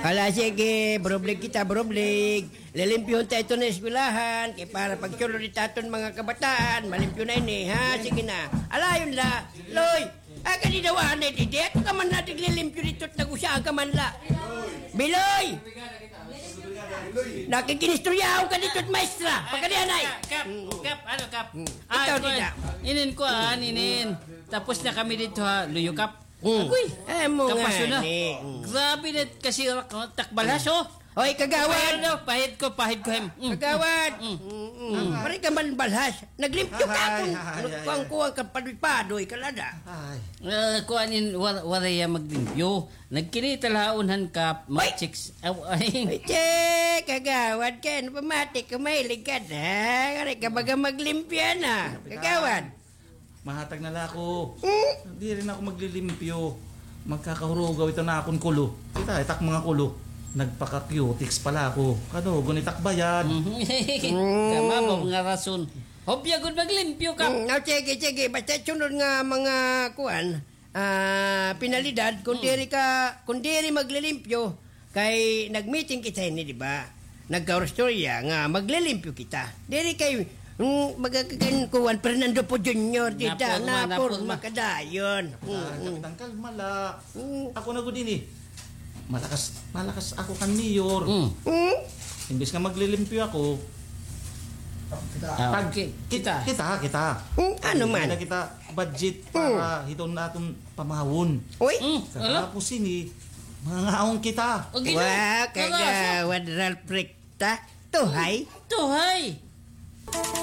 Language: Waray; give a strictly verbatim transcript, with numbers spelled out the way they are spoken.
Hala, sige, burublig kita, burublig. Lilimpyuhon ta ito na eskwelahan, kay para pagsulod it aton mga kabataan, malimpyo na ini, ha? Sige na. Alayon la. Loy, ah, kadi daw anay didi. Ako ka man la tiglilimpyo dito, nag-usa ka man la. Biloy! Nakikinistoryahon ka dito, maestra. Pagkadi anay. Kap, kap, ano, kap? Ikaw, kuan, dida. Inin, kuan, inin. Tapos na kami dito, ha, luyo, kap. Mm. Agoy. Eh, mo nga ni. Grabe na kasi takbalhas, oh. Oy, kagawad. Pahid ko, pahid ko, hem. Mm. Kagawad. Mm. Mm, mm. Pare ka man balhas. Naglimpyo ka akon. Kuwang-kuwang ka, padoy-padoy ka lada. Eh, kuan in, war-, waray ya maglimpyo. Nagkinita la ha unhan ka, mga chicks. Aw, ay. Ay, che, kagawad ka, ano pamati ka, mahilig ka na. Waray ka baga maglimpyo na. Kagawad. Mahatag na la ako. Hmm? Diri na ako maglilimpyo. Magkakahurugaw ito na akon kulo. Kita, itak mga kulo. Nagpaka-cutex pala ako. Kadugon itak bayad. Kamabaw nga rason. Hopya gud maglimpyo ka. Hmm, ah, sige, sige. Basta sunod nga mga kuan, ah, penalidad, kung diri ka, kung diri maglilimpyo, kay nag-meeting kita hini, di ba? Nagkaurustorya nga maglilimpyo kita. Diri kay, mm, magagagan ko, Juan Fernando po Junior, di da, napurma, napurma ka dayon. Mm, mm. Kapitan, kalma la. Mm. Ako na gud ini. Malakas, malakas ako kan mayor. Mm. Mm. Imbis nga maglilimpyo ako, pag-, ki-, kita, kita, kita. Mm, ano man? Kita budget para hiton naton pamawon. Uy. Mm, ala. Tapos ini, mangangaon kita. Wa, kagawad Ralph Recta. Tuhay. Tuhay.